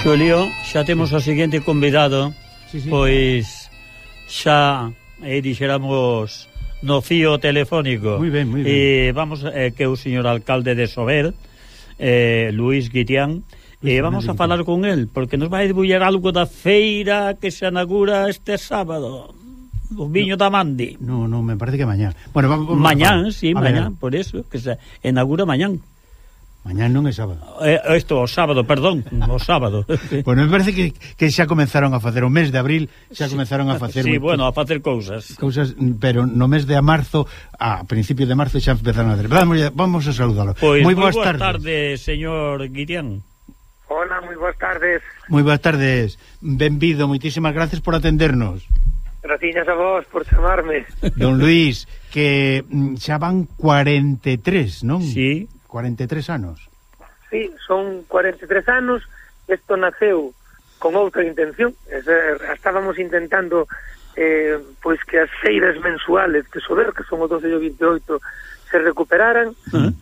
Xulio, xa temos o seguinte convidado, pois xa dixéramos no fío telefónico. Moi ben, moi ben. E vamos, que é o señor alcalde de Sober, Luís Guitián, e vamos a falar con el, porque nos vai debullar algo da feira que se inaugura este sábado, o viño da Mandi. No, me parece que mañán. Bueno, mañán, sí, mañán, por eso, que se inaugura mañán. Mañán non é sábado. O sábado, perdón, o sábado. Bueno, me parece que xa comenzaron a facer o mes de abril, xa comenzaron a facer sí, bueno, a facer cousas, pero no mes de marzo, a principio de marzo xa empezaron a hacer. Vamos a saludalo. Pois moi boas tardes, señor Guitián. Hola, moi boas tardes. Moi boas tardes. Benvido, moitísimas gracias por atendernos. Gracias a vos por chamarme. Don Luís, que xa van 43, non? Sí. 43 anos. Sí, son 43 anos. Isto naceu con outra intención. Estábamos intentando pois que as feiras mensuales de Sober, que son o 12 e o 28, se recuperaran.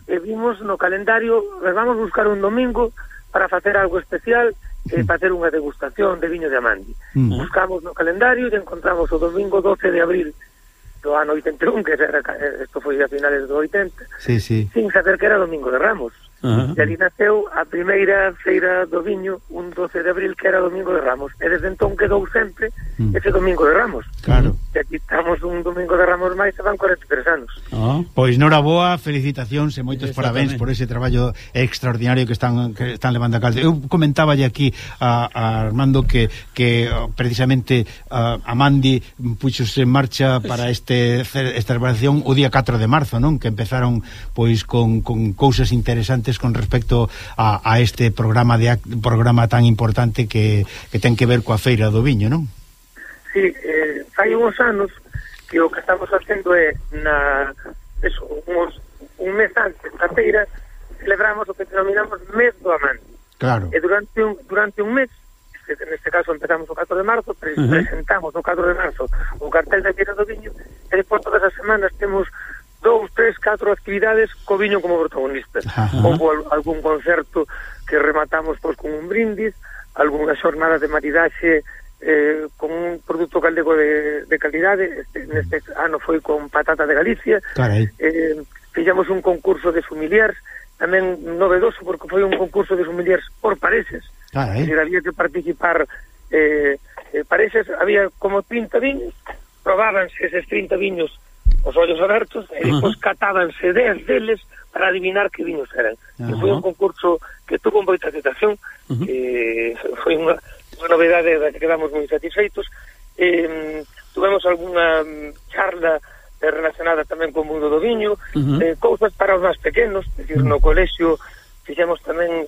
E vimos no calendario, vamos buscar un domingo para facer algo especial, facer unha degustación de viño de Amandi. Buscamos no calendario e encontramos o domingo 12 de abril do ano 81, que isto foi a finales do 80, sí. sin saber que era Domingo de Ramos. E ali naceu a primeira feira do viño, un 12 de abril, que era Domingo de Ramos. E desde entón quedou sempre ese Domingo de Ramos. Claro. E aquí estamos un Domingo de Ramos máis, e van 43 anos. Pois noraboa, felicitacións e moitos parabéns por ese traballo extraordinario que están levando a cabo. Eu comentaba aquí a Armando que precisamente Amandi puxose en marcha para esta celebración o día 4 de marzo, non? Que empezaron pois con cousas interesantes con respecto a este programa tan importante que ten que ver coa feira do viño, non? Sí, hai uns anos que o que estamos facendo é un mes antes da feira celebramos o que denominamos mes do Amandi. Claro. E durante un mes, neste caso empezamos o 4 de marzo, presentamos o 4 de marzo o cartel da feira do viño, e depois todas as semanas temos 2, 3, 4 actividades co viño como protagonista. Houve algún concerto que rematamos pois con un brindis, algunha xornada de maridaxe con un produto galego de calidade. Neste ano foi con patata de Galicia. Fixemos un concurso de sommeliers, tamén novedoso porque foi un concurso de sommeliers por parexes. Había que participar parexes, había como 30 viños, probábanse eses 30 viños os ollos abertos, e depois catábanse 10 deles para adivinar que viños eran. E foi un concurso que tuvo moita aceptación, foi unha novedade da que quedamos moi satisfeitos. Tuvemos algunha charla relacionada tamén co mundo do viño, cousas para os máis pequenos, é dicir, no colexio fixemos tamén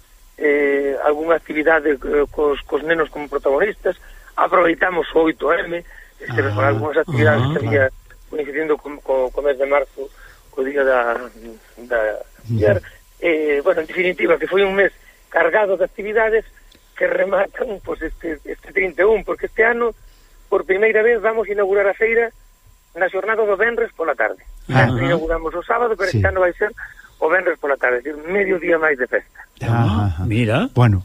algunha actividade cos nenos como protagonistas, aproveitamos o 8M, con algunhas actividades que había coincidindo co mes de marzo, co día da bueno, en definitiva, que foi un mes cargado de actividades que rematan pues, este 31, porque este ano, por primeira vez, vamos a inaugurar a feira na xornada do venres pola tarde. Inauguramos o sábado, pero este ano vai ser o venres pola tarde, é dicir, medio día máis de festa. Mira. Bueno,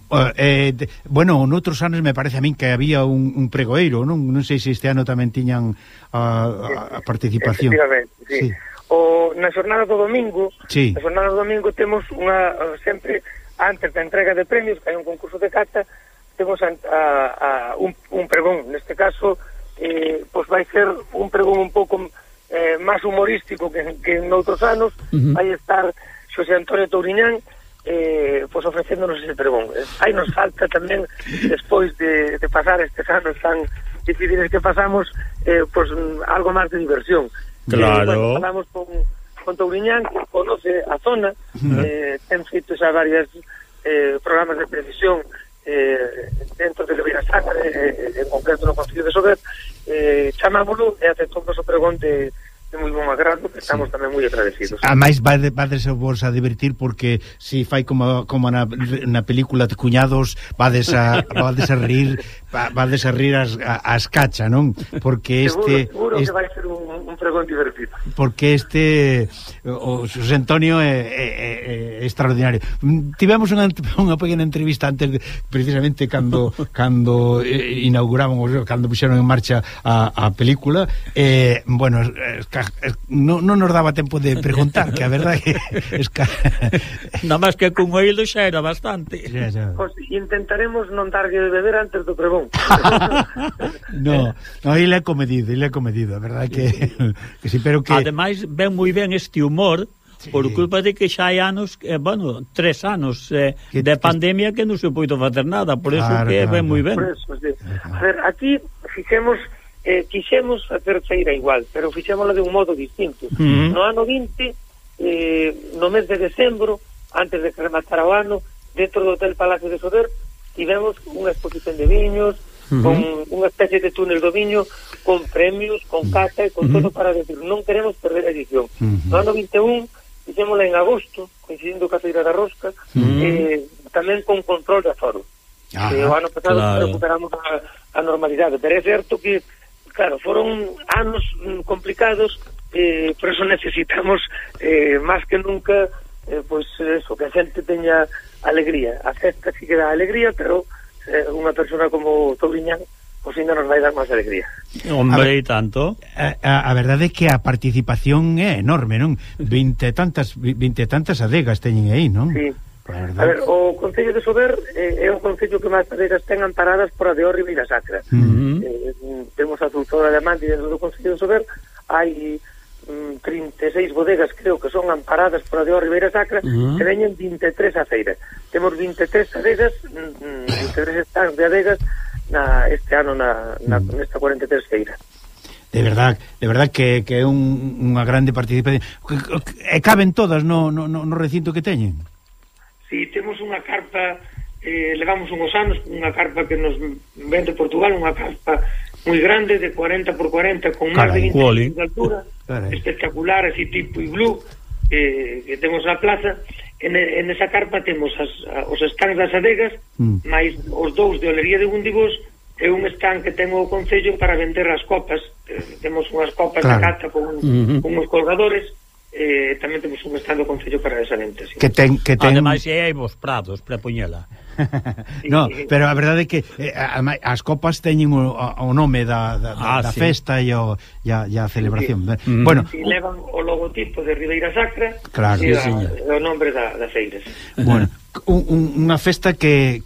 noutros anos me parece a min que había un pregoeiro, non sei se este ano tamén tiñan a participación. Efectivamente, sí. Na xornada do domingo, temos sempre antes da entrega de premios, que hai un concurso de cata, temos un pregón. Neste caso, pois vai ser un pregón un pouco máis humorístico que en outros anos. Vai estar Xosé Antonio Touriñán pois ofrecéndonos ese pregón. Aí nos falta tamén, despois de pasar estes anos tan difíciles que pasamos, pois algo máis de diversión. Claro. Falamos con Touriñán, que conoce a zona, ten feito xa varios programas de previsión dentro de Ribeira Sacra, en concreto no Concello de Sober. Chamámoslo e aceptou o pregón de de moi bon agrado, que estamos tamén moi agradecidos. A máis vades vos a divertir porque si fai como na película de Cuñados vades a rir as cacha, non? Porque seguro que vai ser un pregón divertido. Porque o Xosé Antonio é extraordinario. Tivemos unha pequena entrevista antes precisamente cando inauguraban, cando puxeron en marcha a película, bueno, non nos daba tempo de preguntar, que a verdade es que nada máis que con oído xa era bastante. Pues intentaremos non darlle de beber antes do pregón. No, ele é comedido, a verdade que sí, pero que ademais ven moi ben este humor. Sí. Por culpa de que xa hai anos, 3 anos de pandemia que non se puido facer nada, por eso que ven moi ben. Por eso, sí. A ver, aquí quixemos facer feira igual, pero fixémosla de un modo distinto. No ano 20, no mes de decembro, antes de que rematara o ano, dentro do Hotel Palacio de Sober, tivemos unha exposición de viños, con unha especie de túnel do viño, con premios, con cata e con todo para decir, non queremos perder a edición. No ano 21, fixémosla en agosto, coincidindo ca Feira da Rosca, tamén con control de aforo. O ano pasado recuperamos a normalidade, pero é certo que, claro, foron anos complicados, por eso necesitamos máis que nunca pois eso, que a xente teña alegría. A festa sí que dá alegría, pero unha persona como Touriñán pois ainda nos vai dar máis alegría. Hombre, e tanto. A verdade é que a participación é enorme, non? 20 e tantas adegas teñen aí, non? Sí. A ver, o Concello de Sober é o concello que máis adegas ten amparadas por a de Ribeira Sacra. Temos a doutora de Amante dentro do Concello de Sober, hai 36 bodegas, creo que son amparadas por a de Ribeira Sacra, que veñen 23 a feira. Temos 23 adegas, 23 stands de adegas este ano nesta 43 feira. De verdad que é unha grande participación. E caben todas no recinto que teñen? Si, temos unha carpa, levamos unhos anos, unha carpa que nos ven de Portugal, unha carpa moi grande, de 40 por 40, con máis de 20 de altura, espectacular, así tipo iglú, que temos na plaza. En esa carpa temos os stands das adegas, máis os dous de Olería de Gundibós, e un stand que ten o Concello para vender as copas. Temos unhas copas de cata con uns colgadores. Tamén temos un stand do Concello para esa venta, sí. Que ten... Ademais, hai vos prados para poñela. No, pero a verdade é que as copas teñen o nome da festa e a celebración. Bueno, levan o logotipo de Ribeira Sacra, claro, e o nombre da feira. Bueno, unha festa que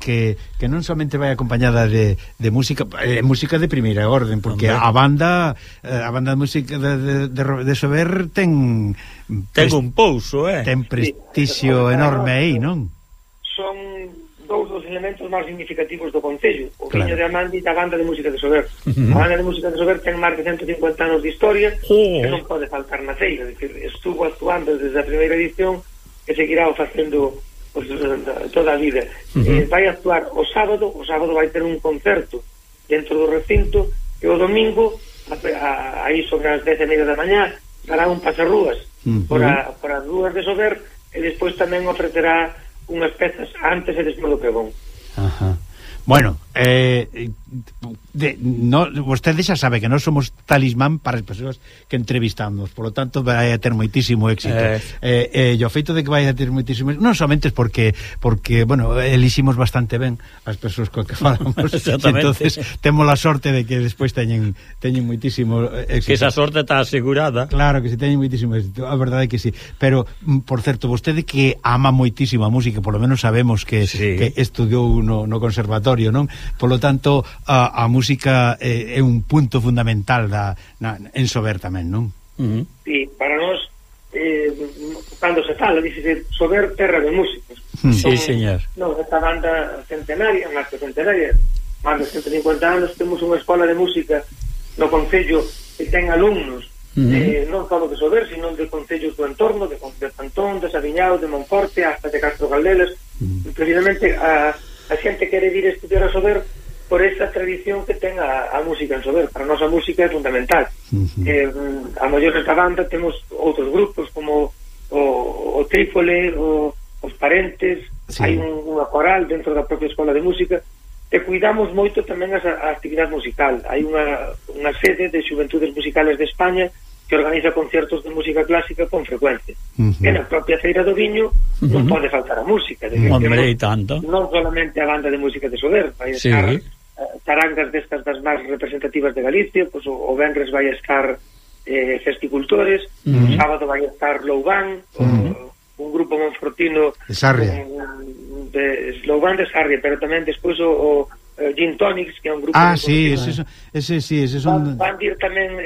non somente vai acompañada de música, música de primeira orden, porque a banda de música de Sober ten un pouso, ten prestixio enorme aí, non? Son dous dos elementos máis significativos do Concello, o viño de Amandi e a banda de música de Sober. A banda de música de Sober ten máis de 150 anos de historia, que non pode faltar na feira, estuvo actuando desde a primeira edición e seguirá o facendo toda a vida. Vai actuar o sábado vai ter un concerto dentro do recinto, e o domingo aí sobre as 10:30 da mañá dará un pasarrúas por as rúas de Sober, e despois tamén ofrecerá unhas pezas antes e despois do pregón. Bueno, vostede xa sabe que non somos talismán para as persoas que entrevistamos, por lo tanto vai a ter moitísimo éxito. E o feito de que vai a ter moitísimo éxito non somente porque bueno, eliximos bastante ben as persoas co que falamos. Entonces temos a sorte de que despois teñen moitísimo éxito. Que esa sorte está asegurada. Claro que si teñen moitísimo éxito, a verdade é que sí. Pero, por certo, vostede que ama moitísimo a música, por lo menos sabemos que estudiou no conservatorio, non? Por lo tanto, a música é un punto fundamental en Sober tamén, non? Sí, para nós cando se fala, dice Sober, terra de músicos. Sí, señor. Non, esta banda centenaria, máis que centenaria, máis de 150 anos, temos unha escola de música no Concello que ten alumnos non só de Sober, sino de concellos do entorno, de Pantón, de Sabiñao, de Monforte, hasta de Castro Caldelas. Precisamente a xente quere vir a estudiar a Sober por esa tradición que ten a música en Sober. Para nós a música é fundamental. A maior da banda temos outros grupos como o Trípole, os Parentes, hai unha coral dentro da propia escola de música, e cuidamos moito tamén a actividade musical. Hai unha sede de Xuventudes Musicales de España que organiza conciertos de música clásica con frecuencia. E na propia Feira do Viño non pode faltar a música. Hombre, e tanto. Non solamente a banda de música de Sober, vai estar charangas destas das máis representativas de Galicia, pois o venres vai estar Festicultores, o sábado vai estar Loubán, un grupo monfortino de Sarria, de Loubán de Sarria, pero tamén despois o Gin Tonics, que é un grupo ese son... van vir tamén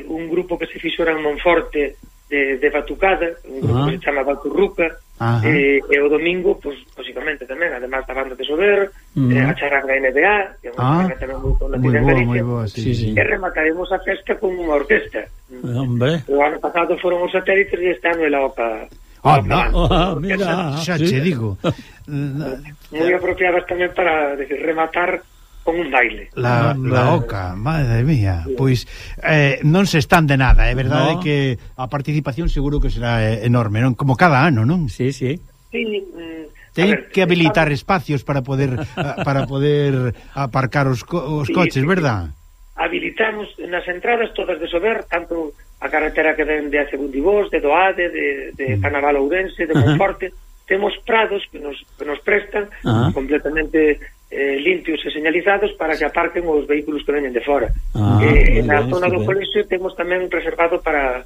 un grupo que se fixora en Monforte de Batucada, un grupo que se chama Baturruca, e o domingo, pues, posiblemente tamén, además da banda de Sober, a charanga NBA, que é unha charanga tamén moi conocida en Galicia, e remataremos a festa con unha orquesta. O ano pasado foron os Satélites e este ano é la OCA. Mira, xa che digo. Moi apropiadas tamén para rematar con un baile. La OCA, madre mía. Pois non se están de nada, é verdade que a participación seguro que será enorme, non? Como cada ano, non? Sí. Ten que habilitar espacios para poder aparcar os coches, verdad? Habilitamos nas entradas todas de Sober, tanto a carretera que ven de Acebundibós, de Doade, de Canaval Ourense, de Monforte. Temos prados que nos prestan completamente limpios e señalizados para que aparquen os vehículos que veñen de fora. Na zona do colexio temos tamén reservado para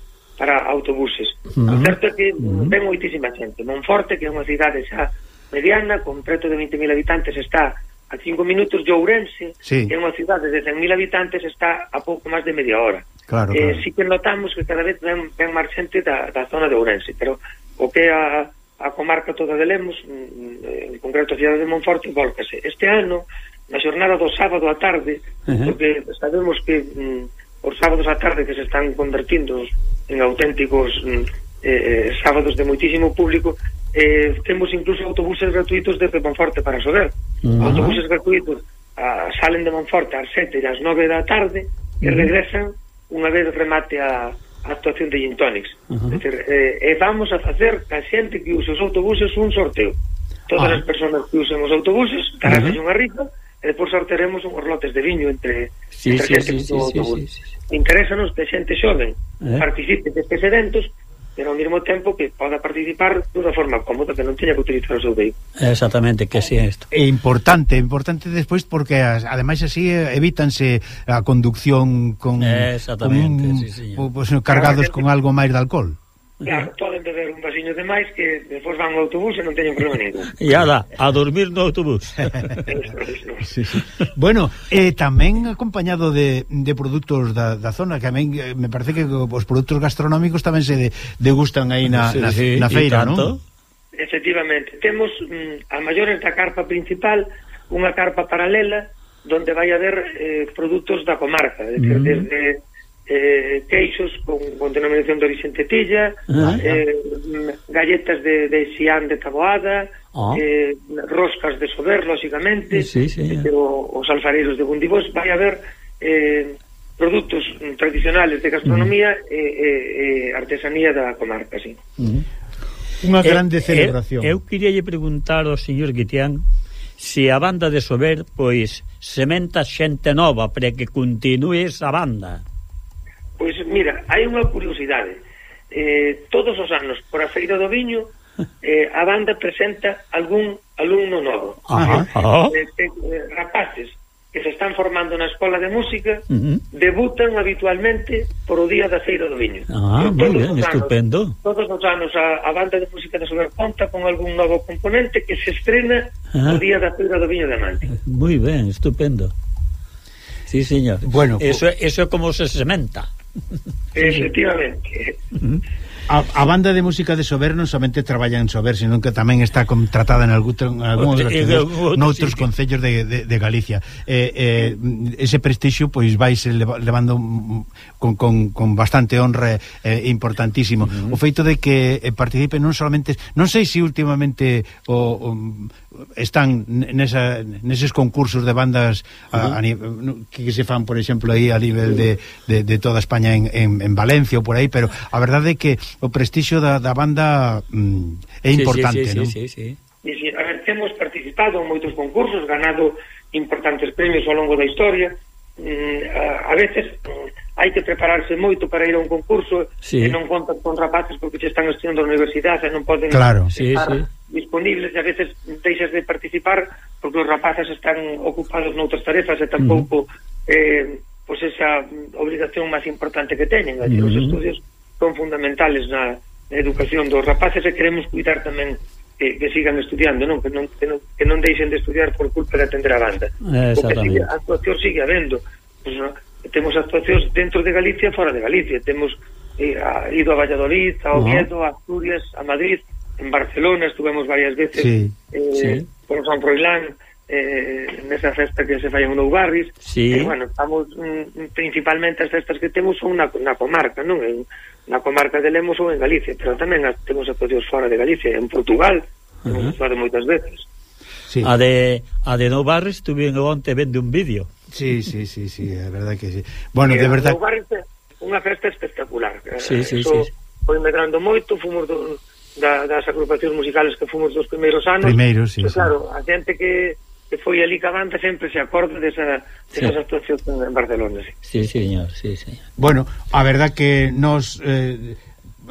autobuses. O certo é que ven moitísima xente. Monforte, que é unha cidade xa mediana, con preto de 20.000 habitantes, está a 5 minutos de Ourense, que é unha cidade de 100.000 habitantes, está a pouco máis de media hora. Claro. Sí que notamos que cada vez ven máis xente da zona de Ourense, pero o que a comarca toda de Lemos, en concreto a cidade de Monforte, volcase. Este ano, na xornada do sábado á tarde, porque sabemos que os sábados á tarde que se están convertindo en auténticos sábados de moitísimo público, temos incluso autobuses gratuitos desde Monforte para Sober. Autobuses gratuitos salen de Monforte ás 7 e ás 9 da tarde e regresan unha vez remate a actuación de Gin Tonics. E vamos a facer a xente que use os autobuses un sorteo. Todas as persoas que usen os autobuses darán unha rifa e depois sortearemos unhos lotes de viño entre xente que usa o autobús. Interésanos que xente xoven participe destes eventos, pero ao mesmo tempo que poda participar dunha forma cómoda, que non teña que utilizar o seu vehículo. Exactamente, que si é isto. É importante despois porque ademais así evítanse a conducción con cargados con algo máis de alcohol. Claro, poden beber un vasiño de máis que despois van ao autobús e non teñen problema ningún. E ala, a dormir no autobús. Bueno, tamén acompañado de produtos da zona, que tamén me parece que os produtos gastronómicos tamén se degustan aí na feira, non? Efectivamente, temos a maiores da carpa principal, unha carpa paralela donde vai haber produtos da comarca, é dicir, desde queixos con denominación de origen tetilla, galletas de xián de taboada, roscas de Sober, lóxicamente, os alfareiros de Bundibós. Vai haber produtos tradicionales de gastronomía e artesanía da comarca, sí. Unha grande celebración. Eu queria preguntar ao señor Guitián se a banda de Sober, pois, sementa xente nova para que continue esa banda. Pois mira, hai unha curiosidade. Todos os anos, por a Feira do Viño, a banda presenta algún alumno novo. Rapaces que se están formando na escola de música debutan habitualmente por o día da Feira do Viño. Moi ben, estupendo. Todos os anos a banda de música de Sober conta con algún novo componente que se estrena o día da Feira do Viño de Mante. Moi ben, estupendo. Sí, señor. Bueno, eso é como se sementa. Efectivamente. A banda de música de Sober non somente traballa en Sober, sino que tamén está contratada en noutros concellos de Galicia. Ese prestixio pois vaise levando con bastante honra importantísimo. O feito de que participe non solamente, non sei se últimamente están neses concursos de bandas que se fan, por exemplo, aí a nivel de toda España en Valencia ou por aí, pero a verdade é que o prestixio da banda é importante, non? Sí. A ver, temos participado en moitos concursos, ganado importantes premios ao longo da historia. A veces hai que prepararse moito para ir a un concurso e non contas con rapaces porque se están estudiando na universidade e non poden estar disponibles, e a veces deixas de participar porque os rapaces están ocupados noutras tarefas e tampouco pois esa obrigación máis importante que teñen. Os estudios son fundamentales na educación dos rapaces e queremos cuidar tamén que sigan estudiando, non? Que non deixen de estudiar por culpa de atender a banda. Porque a actuación sigue habendo. Pues, ¿no? Temos actuacións dentro de Galicia e fora de Galicia. Temos ido a Valladolid, a Oviedo, a Asturias, a Madrid, en Barcelona estuvemos varias veces por San Froilán, nesa festa que se fai en Noubarris. Bueno, estamos principalmente as festas que temos son na comarca, non? Na comarca de Lemos ou en Galicia, pero tamén temos actuacións fora de Galicia, en Portugal, hemos actuado moitas veces. A de Noubarris tuvieron onte vende un vídeo. Sí, é verdade que sí. Bueno, de verdade. Noubarris é unha festa espectacular. Foi medrando moito, fomos das agrupacións musicales que fomos dos primeiros anos. Claro, a xente que foi ali ca banda sempre se acorda desas actuacións en Barcelona. Sí, señor. Bueno, a verdad que nos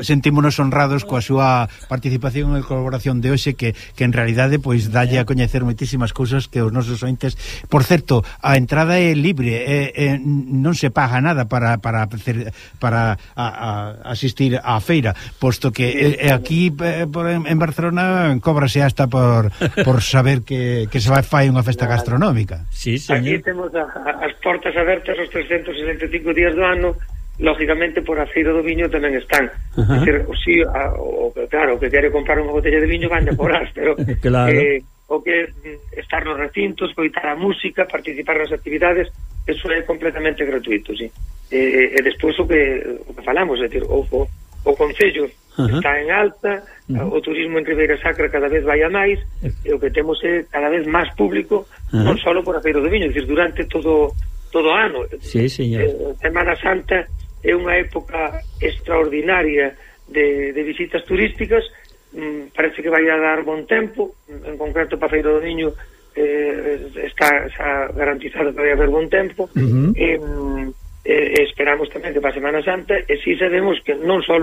sentímonos honrados coa súa participación e colaboración de hoxe que en realidade pois dalle a coñecer moitísimas cousas que os nosos ointes. Por certo, a entrada é libre, non se paga nada para asistir á feira, posto que aquí en Barcelona cóbrase hasta por saber que se fai unha festa gastronómica. Sí, señor. Aquí temos as portas abertas os 365 días do ano. Lógicamente por a Feira do Viño tamén están. Claro, o que quere comprar unha botella de viño van a cobrar, pero o que estar nos recintos, coitar a música, participar nas actividades, eso é completamente gratuito, sí. E despois o que falamos, é dicir, o Concello está en alta, o turismo en Ribeira Sacra cada vez vai a máis, e o que temos é cada vez máis público, non só por a Feira do Viño, é dicir, durante todo o ano. Sí, señor. Semana Santa é unha época extraordinaria de visitas turísticas. Parece que vai a dar bon tempo, en concreto para Feira do Niño está garantizado que vai haber bon tempo, esperamos tamén que para Semana Santa, e si sabemos que non só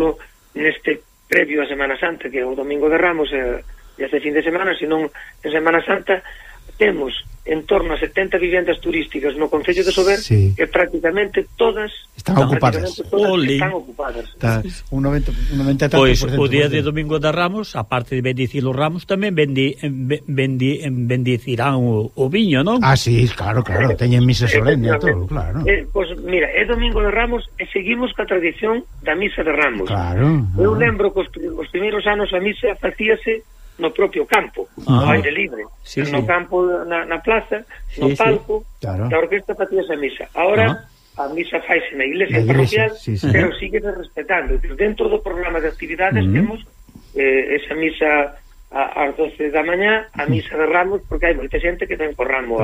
neste previo a Semana Santa, que é o Domingo de Ramos e este fin de semana, senón en Semana Santa temos en torno a 70 vivendas turísticas no Concello de Sober, que prácticamente todas están ocupadas. Está un 90%. Pois o día de Domingo de Ramos, aparte de bendicir os ramos, tamén bendicirán o viño, non? Sí, claro, teñen misa solene e todo, claro. Pois mira, é Domingo de Ramos e seguimos ca tradición da misa de Ramos. Claro. Eu lembro que os primeiros anos a misa facíase no propio campo, no aire libre, no campo, na plaza, no palco, da orquesta facíase a misa. Ahora a misa faise na iglesia parroquial, pero sigue respetando. Dentro do programa de actividades temos esa misa ás 12 da mañá, a misa de Ramos, porque hai moita xente que ven co ramo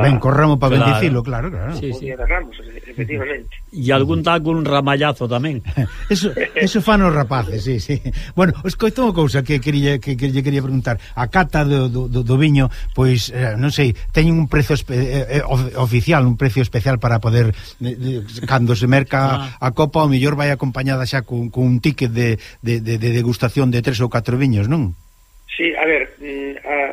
para bendicilo, claro. O día de Ramos, efectivamente. E algún ramallazo tamén. Eso fan os rapaces, sí. Bueno, escoito unha cousa que lle quería preguntar. A cata do viño, pois, non sei, teñen un prezo oficial, un precio especial para poder, cando se merca a copa, o mellor vai acompañada xa cun ticket de degustación de 3 ou 4 viños, non? Sí, a ver,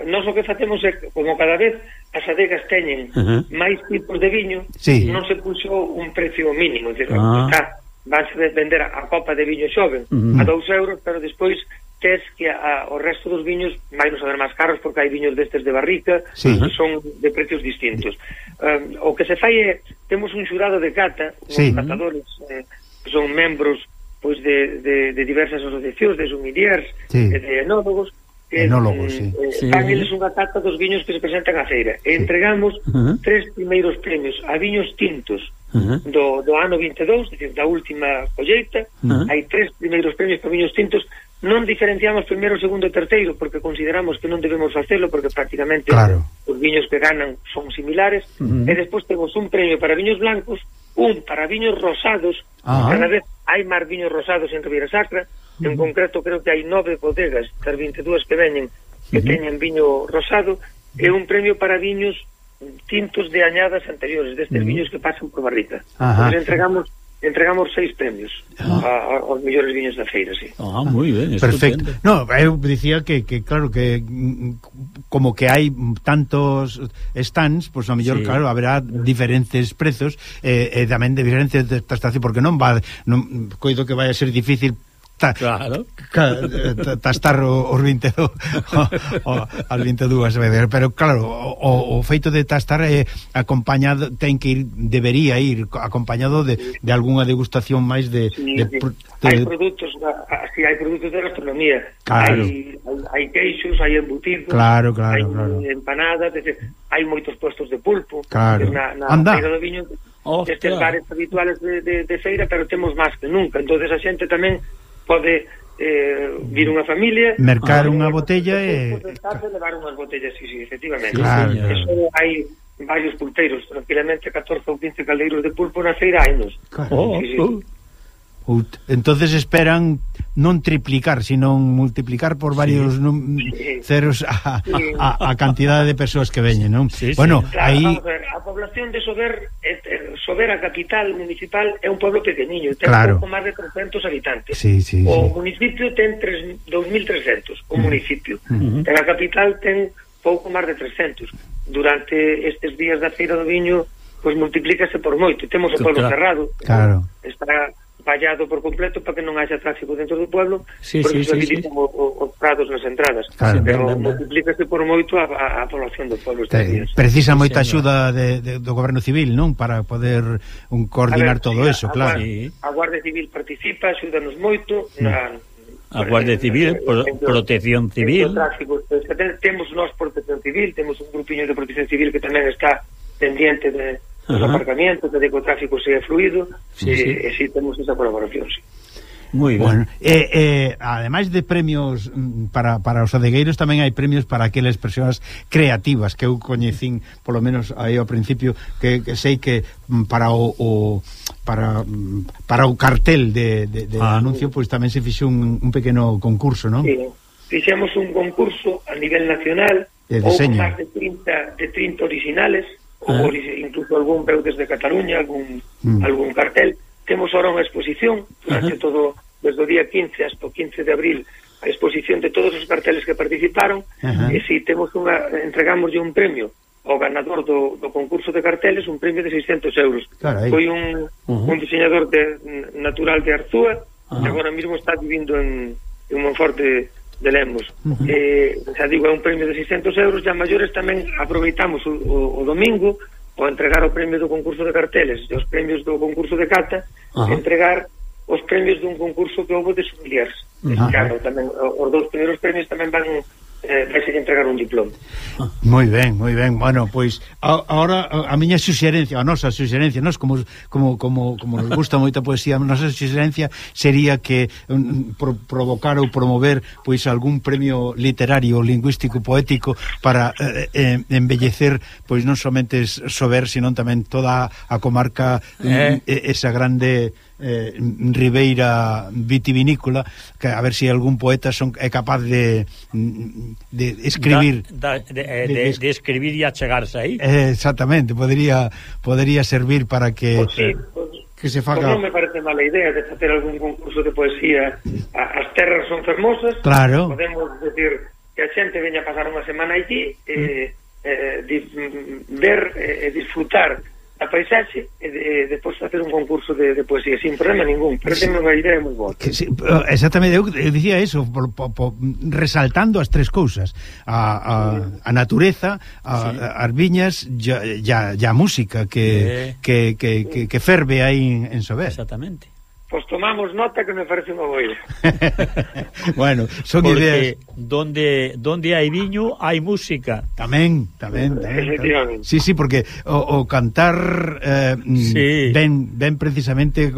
nós o que facemos é, como cada vez as adegas teñen máis tipos de viño, non se puxo un precio mínimo, vanse vender a copa de viño xoven a 2 euros, pero despois tes que o resto dos viños vai nos a ver máis caros, porque hai viños destes de barrica que son de precios distintos. O que se fai é, temos un xurado de cata, uns catadores que son membros pois de diversas asociacións, de sommeliers, de enólogos, fan eles unha cata dos viños que se presentan á feira, e entregamos 3 primeiros premios a viños tintos do ano 22, decir, da última colleita. Hai 3 primeiros premios para viños tintos non diferenciamos primeiro, segundo e terceiro, porque consideramos que non debemos facelo, porque prácticamente os viños que ganan son similares, e despois temos un premio para viños blancos, un para viños rosados, cada vez hai máis viños rosados en Ribeira Sacra, en concreto creo que hai 9 bodegas das 22 que veñen que teñen viño rosado, e un premio para viños tintos de añadas anteriores, destes viños que pasan por barrica. Pues entregamos 6 premios aos mellores viños da feira, sí. Moi ben, perfecto. No, eu dicía que claro, que como que hai tantos stands, pois a mellor, claro, haberá diferentes prezos e tamén de diferentes tastación, porque non coido que vai a ser difícil claro, tastar os 22 as 22 veces, pero claro, o feito de tastar acompañado, debería ir acompañado de algunha degustación máis de hai produtos, hai produtos de gastronomía, claro. hai queixos, hai embutidos, claro. hai empanadas, hai moitos puestos de pulpo, claro. na feira do viño, estes bares habituales de feira, pero temos máis que nunca, entonces a xente tamén pode vir unha familia, mercar unha botella e levar unhas botellas, sí, efectivamente. Claro. Eso hai varios pulpeiros, tranquilamente 14 ou 15 caldeiros de pulpo na feira hainos. Entonces esperan non triplicar, sino multiplicar por varios ceros a cantidade de persoas que veñen, non? Bueno, claro, aí a población de Sober, a capital municipal, é un pueblo pequeniño, ten pouco máis de 300 habitantes. O municipio ten 2.300, o municipio. En a capital ten pouco máis de 300. Durante estes días da Feira do Viño, pois multiplícase por moito. Temos o pueblo cerrado, está vallado por completo para que non haxa tráfico dentro do pueblo, porque se habilitan os prados nas entradas, pero multiplícase por moito a población do pueblo estes días. Precisa moita axuda do goberno civil, non? Para poder coordinar todo eso, claro. A Guardia Civil participa, axúdanos moito a Guardia Civil, Protección Civil, temos nós Protección Civil, temos un grupiño de Protección Civil que tamén está pendiente de os aparcamientos, de que o tráfico sea fluido, e si temos esa colaboración, sí. Moi ben. Bueno, ademais de premios para os adegueiros, tamén hai premios para aquelas persoas creativas que eu coñecín, polo menos aí ao principio, que sei que para o cartel de anuncio, pois tamén se fixo un pequeno concurso, non? Sí, fixemos un concurso a nivel nacional, ou máis de 30 originales, ou incluso algún veu desde Cataluña, algún cartel. Temos ahora unha exposición durante todo, desde o día 15 hasta o 15 de abril, a exposición de todos os carteles que participaron, e si temos entregamos un premio ao ganador do concurso de carteles, un premio de 600 euros. Foi un diseñador natural de Arzúa, que agora mesmo está vivindo en Monforte de Lemos. Xa digo, é un premio de 600 euros, e a maiores tamén aproveitamos o domingo o entregar o premio do concurso de carteles e os premios do concurso de cata, entregar os premios dun concurso que houve de sommeliers. Claro, tamén os dous primeiros premios tamén van vai ser entregar un diploma. Moi ben. Bueno, pois agora a miña suxerencia, a nosa suxerencia, nós como nos gusta moita poesía, a nosa suxerencia sería que provocar ou promover pois algún premio literario, lingüístico, poético para embellecer pois non somente Sober, sino tamén toda a comarca, esa grande ribeira vitivinícola, que a ver se algún poeta é capaz de escribir de escribir e achegarse aí. Exactamente, podría servir para que que se faga. Non me parece mala idea de facer algún concurso de poesía. As terras son fermosas, podemos decir que a xente veña a pasar unha semana aquí, ver e disfrutar a paisaxe e depois facer un concurso de poesía sin problema ningún, pero ten unha idea moi boa. Exactamente, eu dicía eso, resaltando as tres cousas, a natureza, as viñas e a música que ferve aí en Sober. Exactamente. Pois tomamos nota, que me parece unha boa idea. Bueno, son porque ideas. donde hai viño hai música. Tamén. Efectivamente. Sí, porque o cantar sí. ven precisamente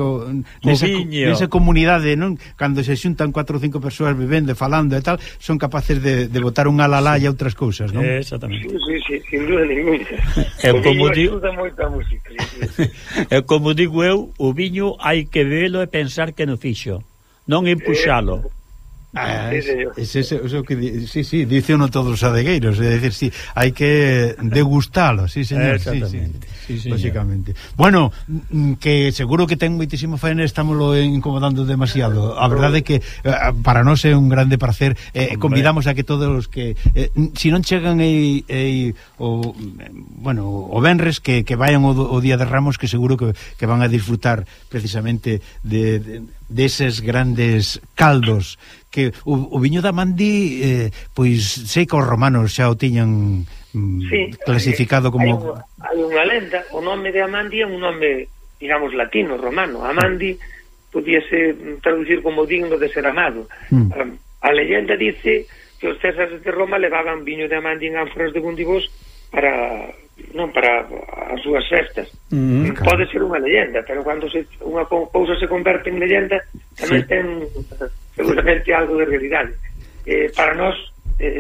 nesa comunidade, non? Cando se xuntan 4 ou 5 persoas vivendo, falando e tal, son capaces de botar un alalá e outras cousas, non? Exactamente. Sí, sin duda ninguna. O viño axuda moito a música. É como digo eu, o viño hai que velo e pensar que no fixo, non empuxalo. Eso que sí, dice uno todos os adegueiros, é dicir, sí, hai que degustalo, sí, señor. Sí, lógicamente. Bueno, que seguro que ten moitísimo faena, estámoslo incomodando demasiado. A verdade é que para nós é un grande placer. Convidamos a que todos os que si non chegan o venres que vayan o Día de Ramos, que seguro que van a disfrutar precisamente deses grandes caldos que o viño da Mandi, pois sei que os romanos xa o tiñan clasificado como... Hai unha lenda, o nome de Amandi é un nome, digamos, latino, romano. Amandi podíase traducir como digno de ser amado. A leyenda dice que os césares de Roma levaban viño de Amandi en ánforas de bundibos para as súas festas. Pode ser unha leyenda, pero cando unha cousa se converte en leyenda, tamén ten seguramente algo de realidade. Para nós,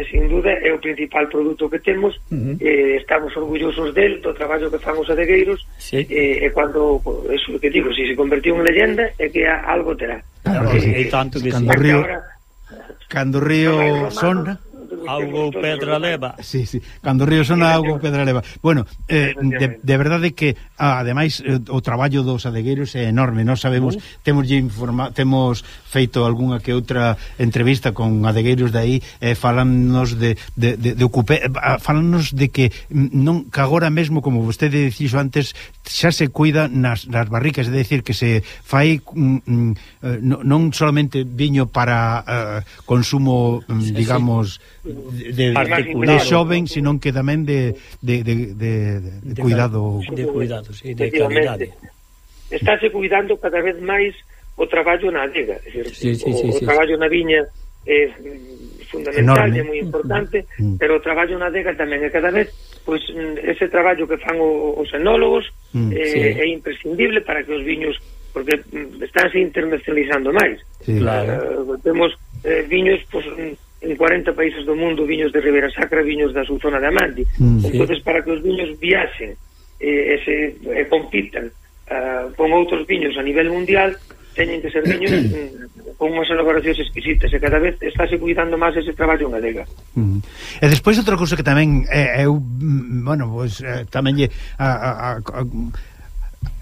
sin duda, é o principal produto que temos. Estamos orgullosos del, do traballo que fan os adegueiros, e cando, eso que digo, se convertiu en leyenda, é que algo terá. E tanto que cando o río sona, auga ou pedra leva. Sí, cando o río sona, auga ou pedra leva. Bueno, de verdade que ademais o traballo dos adegueiros é enorme. Nós sabemos, temos feito algunha que outra entrevista con adegueiros de aí, falannos de falannos de que non, que agora mesmo, como vostede dixo antes, xa se cuida nas barricas, é dicir, que se fai non solamente viño para consumo, digamos, de xoven, sino que tamén de cuidado. De cuidado, sí, de calidade. Estáse cuidando cada vez máis o traballo na adega. O traballo na viña é fundamental, é moi importante, pero o traballo na adega tamén é cada vez, pois ese traballo que fan os enólogos é imprescindible para que os viños, porque estánse internacionalizando máis. Temos viños, pois, en 40 países do mundo, viños de Ribera Sacra, viños da súa zona de Amandi. Entonces, para que os viños viaxen e compitan con outros viños a nivel mundial, teñen que ser viños con unhas elaboracións exquisitas, e cada vez estáse cuidando máis ese traballo en adega. E despois outra cousa que tamén eu, tamén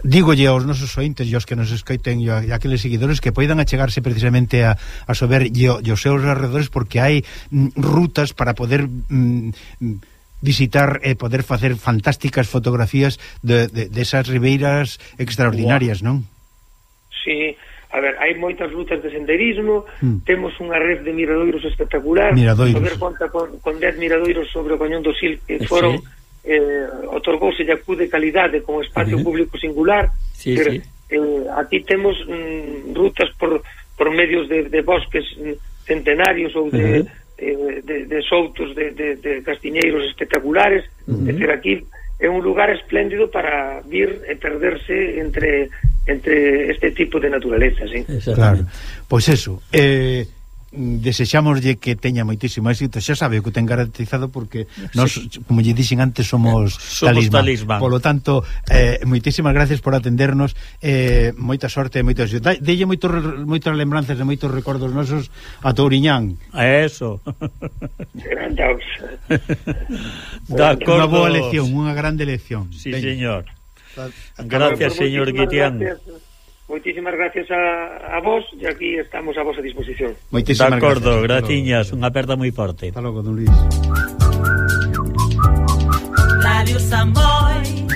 dígolle aos nosos ointes e aos que nos escoiten e aqueles seguidores que poidan achegarse precisamente a sober e os seus arredores, porque hai rutas para poder visitar e poder facer fantásticas fotografías desas ribeiras extraordinarias, non? Sí, a ver, hai moitas rutas de senderismo, temos unha red de miradoiros espectacular, poder conta con 10 miradoiros sobre o Cañón do Sil, que foron otorgouse de acude calidade con espacio público singular. Aquí temos rutas por medios de bosques centenarios ou de soutos de castiñeiros espectaculares. É dicir, aquí é un lugar espléndido para vir e perderse entre este tipo de naturaleza, sí. Claro, pois eso, desexámoslle que teña moitísimo éxito, xa sabe o que ten garantizado, porque nós, como lle dixen antes, somos talismán. Polo tanto, moitísimas gracias por atendernos, moita sorte e moita éxito. Delle moitas lembranzas e moitos recordos nosos a Touriñán. Eso. Unha boa lección, unha grande lección. Sí, señor. Gracias, señor Guitián. Moitísimas gracias a vos, e aquí estamos a vosa disposición. Moitísimas gracias. De acordo, graciñas, unha aperta moi forte. Hasta logo, don Luis. Radio Samboy.